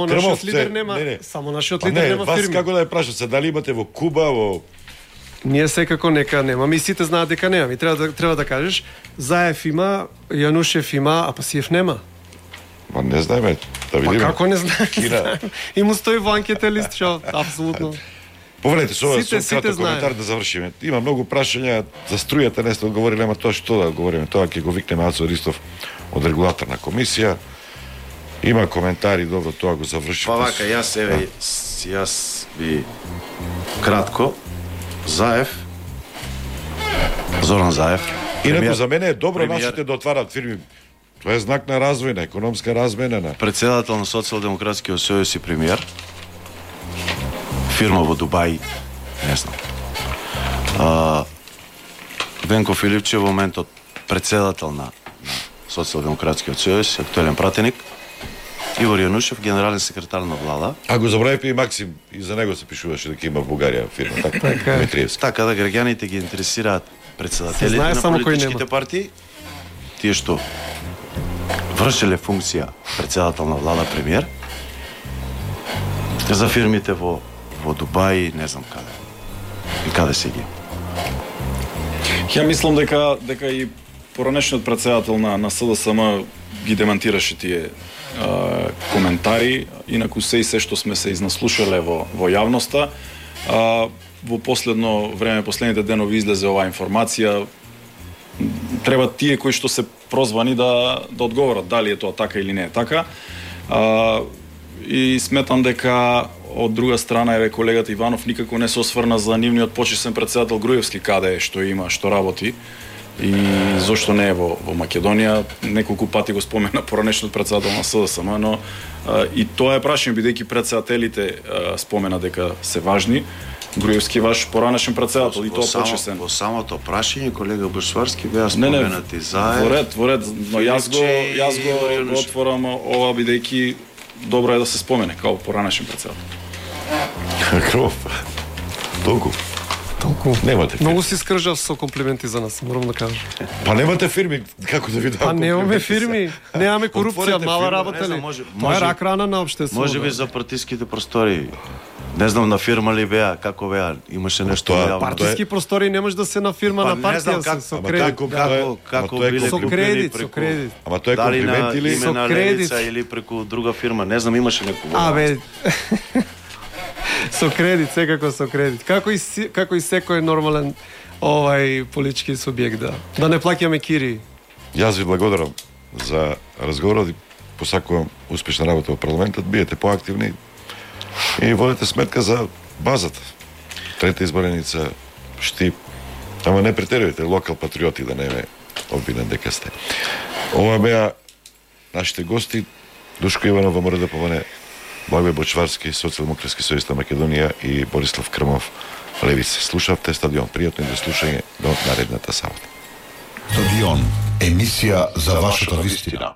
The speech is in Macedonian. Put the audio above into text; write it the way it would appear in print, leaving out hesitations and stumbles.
Нашиот лидер нема, само нашиот лидер нема фирми. Вас како да ја прашат се, дали имате во Куба, во... Ние секако нека немаме и сите знаат дека немаме. И треба да кажеш, Заев има, Јанушев има, а Пасиев нема. Ма не знаеме, да видиме. Па како не знаеме? И му стои во анкетен лист, што апсолутно. Повелете, со краток коментар да завршиме. Има многу прашања за струјата, не сте одговорили, ама тоа што да одговориме, тоа ќе го викнеме Ацо Ристов од регулаторна комисија. Има коментари, добро, тоа го завршиме. Па вака, јас би кратко Заев, Зоран Заев. Инаку за мене е добро нашите да отварат фирми. Тоа е знак на развој, на економска размена, на председател на Социјалдемократскиот сојуз и премиер. Фирма во Дубај, не знам. Венко Филипчев во моментот председател на Социјалдемократскиот сојуз, актуелен пратеник. Игор Јанушев, генерален секретар на влада. А го забравивме и Максим, и за него се пишуваше дека има во Бугарија фирма, така, Дмитриевски. Така да граѓаните ги интересираат председателите на политичките партии, тие што вршеле функција председател на влада, премиер, за фирмите во Дубај, не знам каде. И каде се ги. Ја мислам дека и поранешниот председател на СДСМ ги демантираше тие коментари, инаку се што сме се изнаслушале во јавноста. Во последно време, последните денови излезе оваа информација. Треба тие кои што се прозвани да одговорат дали е тоа така или не е така. И сметам дека од друга страна еве колегата Иванов никако не се осврна за нивниот почесен председател Груевски, каде што има, што работи и зошто не е во Македонија. Неколку пати го спомена поранешниот председател на СДСМ, но и тоа е прашање, бидејќи председателите спомена дека се важни. Груевски ваш поранешен председател и тоа почесен. Во самото прашање колега Бушварски беа споменати Заев. Во ред, но јас го отворам ова бидејќи добро е да се спомене као поранешен председател. Кров. Толку. Немате фирми. Многу си скржав со комплименти за нас, морам да кажам. Па немате фирми, како да ви дам? Па немаме фирми, немаме корупција, мала работа ли? Тоа е рак рана на општеството. Можеби за партиските простори. Не знам на фирма ли беа, како беа, имаше нешто јавно. Партиски простори не може да се на фирма на партија со кредит. Како биле со кредит. Ама тоа е комплимент или со кредит или преку друга фирма, не знам, имаше некој. Со кредит, секако со кредит. Како и секој нормален политички субјект, да не плаќаме кири. Јас ви благодарам за разговорот и посакувам успешна работа во парламентот, биете поактивни и водите сметка за базата. Трета избореница, Штип, ама не претерувате, локал патриоти, да не ме обвинен дека сте. Ова беа нашите гости, Душко Иванов, ВМРД ПВН, Благој Бочварски, Социјалдемократски сојуз на Македонија и Борислав Крмов, Левица. Слушавте Стадион. Пријатно и до слушање до наредната сабота. Стадион, емисија за вашата вистина.